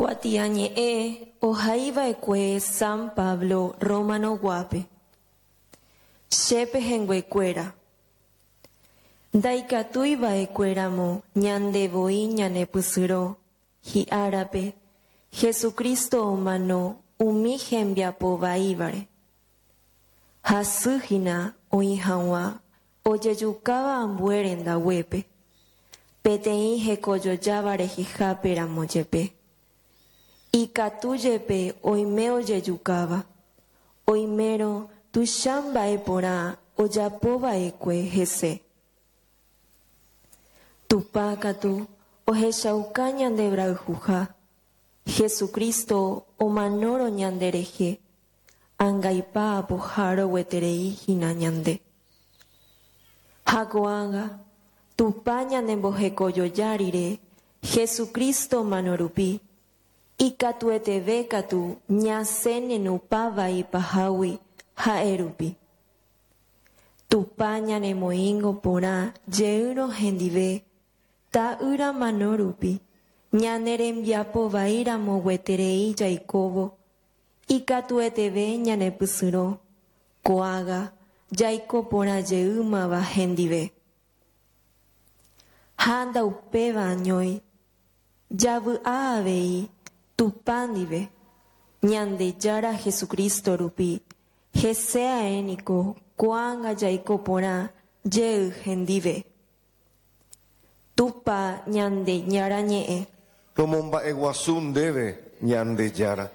Kuatiañe'ẽ ohaiva'ekue San Pablo Romano-guápe. Che pehẽnguekuéra, ndaikatúi va'ekue ramo ñande voi ñanepysyrõ hi'árape Jesucristo omano umi hembiapo vaívare. Hasy hína oĩ hag̃ua Ojejukáva ambue rendaguépe, peteĩ hekojojáva rehehápe ramo jepe. Ikatu jepe oime ojejukáva, oimérõ tuicha mba'e porã ojapo va'ekue hese. Tupã katu ohechauka ñande brayhuha, Jesucristo omanórõ ñande rehe, Angaipa apoha rogueterei hína ñande. Ha ko'ágã, Tupã ñanembohekojoja rire Jesucristo mano rupi, ikatueteve katu ñasẽ nenupã vai pahágui ha'e rupi. Tupã ñanemoĩngo porã jeýrõ hendive Ta'ýra mano rupi, ñane rembiapo vai ramo gueterei jaikóvo, Ikatueteve ñanepysyrõ ko'ágã jaiko porã jeýmava hendive. Ha ndaupéva añói, javy'a avei Tupã ndive, Ñandejára Jesucristo rupi, hese ae niko ko'ág̃a jaiko porã jey hendive. Tupã Ñandejára ñe'ẽ. Romomba'eguasu ndéve, Ñandejára.